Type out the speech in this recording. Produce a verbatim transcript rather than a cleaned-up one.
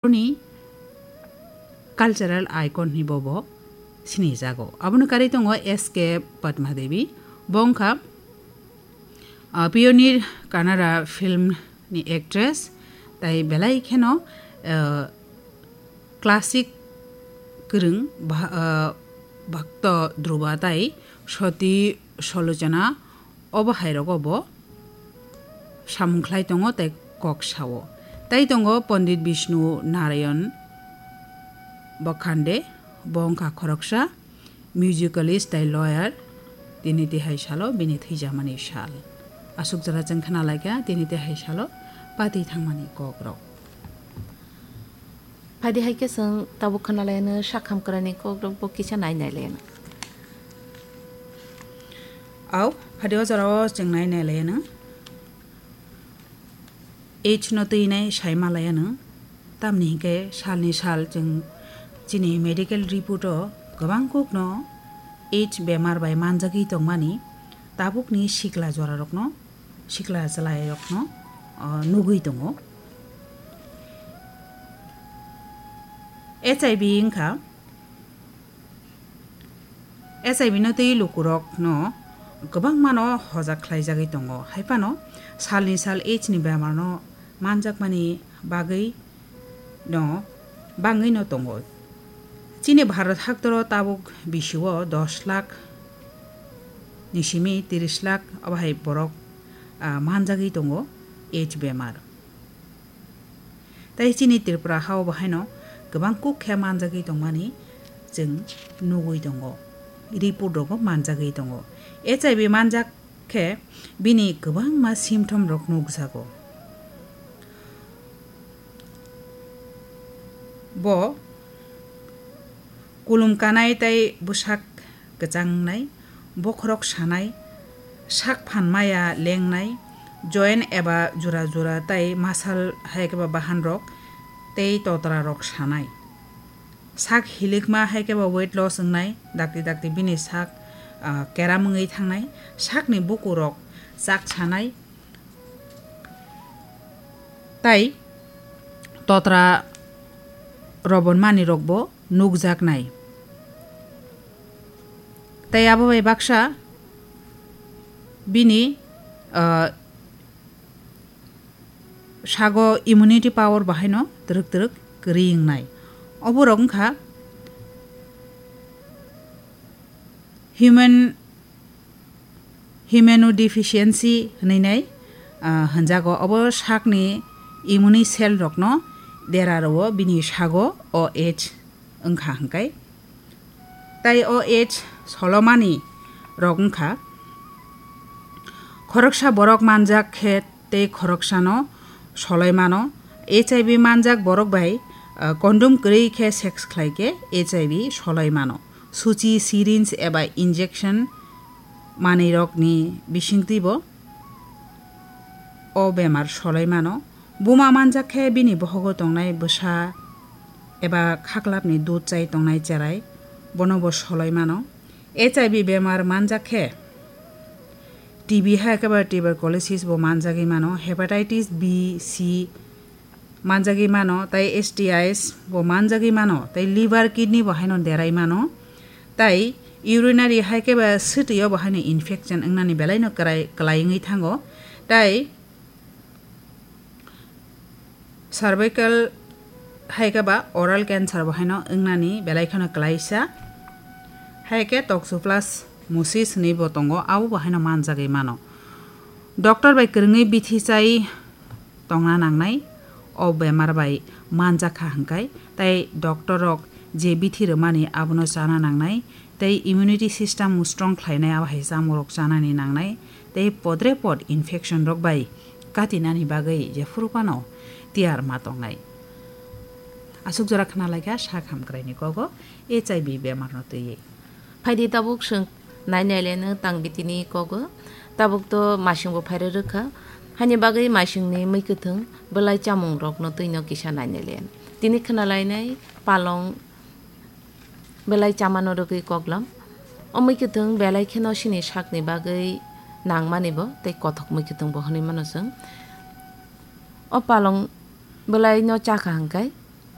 Boroni cultural icon hinwi bo bo sinijago. Abono karwi tongo S K Padma Devi. Bo wngkha, ah, pioneer Kannada film ni actress, tai belai kheno, ah, classic kwrwng bha-, ah, Bhakta Dhruva tai Sati Salochana, obo hai rogo bo samung khlai tongo tei kok sao. Tai tongo Pandit Bishnu Narayan Bakhande, bo wngkha khoroksa musicalist tei lawyer, tini tihai salo bini thwijamani sal. Aswk jora chwng khna laikha tini tihai salo pati thangmani kokrok. Phaidi hai khe chwng tabuk khna laianw sak hamkraini kokrok bo kisa nai nai laianw. Au, phaidi o jorao chwng nai nai laianw. Age no twi nai sai ma laianw. Tamni hinkhe salni sal chwng chini medical report o kwbang kukno age bemar bai manjagwi tongmani tabukni sikla jorarokno, sikla chwlairokno, o, nugwi tongo. H I V wngkha H I V no twi lukurokno kwbangmano hojak khlaijagwi tongo, hai phano salni sal age ni bemarno manjakmani bagwi no bangwi no tongo. Chini Bharat haktoro tabuk bisio dos lakh ni simi tris lakh obo hai borok, ah, manjagwi tongo age bemar. Tei chini Tripura hao bo haino kwbang kuk khe manjagwi tongmani chwng nugwi tongo, report rogo manjagwi tongo. H I V manjak khe bini kwbangma symptom rok nukjago. Bo kulum kanai tei bwsak kwchang wngnai, bokhorok sanai, sak phan maya lengnai, joint eba jora jora tei muscle hai khe ba bahan rok tei totra rok sanai. Sak hilikma hai khe ba weight loss wngnai, dakti dakti bini sak, ah, keram wngwi thangnai, sakni bukurok chak sanai, tei totra robon manwi rokbo nukjaknai. Tei abo bai baksa bini, ah, sago immunity power bahaino twrwk twrwk kwrwi wngnai. Oborok wngkha human immunodeficiency hwnwi nai, ah, hwnjago. Obo sakni immune cell rokno dera rwo bini sago O H wngkha hwnkhe. Tei O H solomani rok wngkha. Khoroksa borok manjak khe tei khoroksano soloi mano. H I V manjak borok bai, ah, condom kwrwi khe sex khlai khe H I V soloi mano. Suchi, syringe eba injection manwirokni bisingtwibo o bemar soloi mano. Buma manjak khe bini bohogo tongnai bwsa eba khaklapni dud chai tongnai cherai, bono bo soloi mano. H I V bemar manjak khe T B hai khe ba tuberculosis bo manjagwi mano, hepatitis B, C manjagwi mano, tei S T Is bo manjagwi mano, tei liver, kidney bo haino derai mano, tei urinary hai khe ba swtwi o bo haino infection wngnani belai no kwrai-, kwlai wngwi thango, tei cervical hai khe ba oral cancer bo haino wngnani belai kheno kwlaisa, hai khe toxoplasmosis hwnwi bo tongo, abo bo haino manjagwi mano. Doctor bai kwrwngwi bithi chai tongna nangnai, o bemar bai manjakha hwnkhe, tei doctor rok je bithi rwmani abono chana nangnai, tei immunity system strong khlainai abo hai chamung rok chanani nangnai, tei podre pod infection rok bai katinani bagwi jephuru phano tiyar ma tongnai. Aswk jora khna laikha sak hamkraini kogo H I V bemar no twiwi. Phaidi tabuk chwng nai nai le nwng tang bitini kogo. Tabuk to masing bo phairwi rwkha. Haini bagwi masingni mui kwthwng belai chamung rokno twino kisa nai nai le. Tini khna lainai palong belai chamano rwgwi koklam. O mui kwthwng belai kheno chini sakni bagwi nangmani bo tei kothok mui kwthwng bo hwnwi mano chwng. O palong belai no chakha hwnkhe